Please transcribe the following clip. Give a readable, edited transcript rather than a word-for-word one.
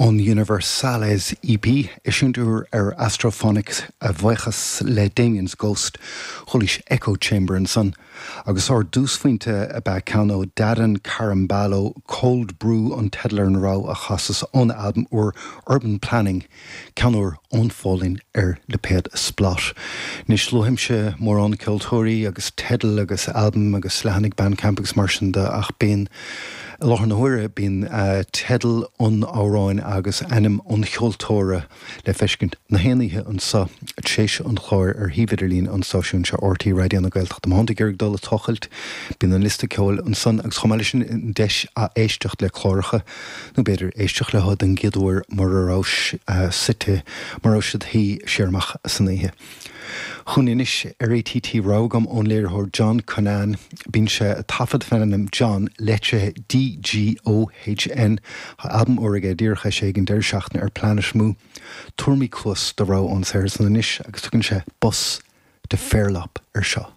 Ón Universales EP, eisiúint úr ar Astrophonic a bhuíochas le Damien's Ghost, chualaís Echo Chamber ansan, agus ár dtúsphointe ab ea ceann ó Dadan Carambalo, Cold Brew an teideal ar an rogha a chasas óna albam úr Urban Planning, Ceann úr ón Pholainn ar lipéad Splott. Anois, luaimse mórán ceoltóirí agus teidil agus albaim agus leathanaigh Bandcamp agus mar sin de ach bíonn, i láthair na huaire, bíonn teideal an amhráin agus ainm an cheoltóra le feiscint na haon oíche anso tar éis an chláir ar shuíomh idirlín an stáisiúin seo, RTÉ Raidió na Gaeltachta. Má thánn tú ag iarraidh dul ag tochailt, bíonn an liosta ceoil ansan agus chomh maith leis sin an deis ath-éisteacht le cláracha. Nó b'fhéidir éisteacht leo den gcéad uair mura rabhais suite, mura raibh siad shuí siar amach san oíche. Chugainn anois ar ATT rogha agam ón léiritheoir John Cunnane. Bíonn sé ag taifead faoin ainm John, leitrithe DGOHN. Tá albam úr aige díreach eisithe ag an deireadh seachtaine ar Planet Mu. Tabharfaimid cluas do rogha ón saothar san anois agus tugann sé Bus to Fairlop air seo.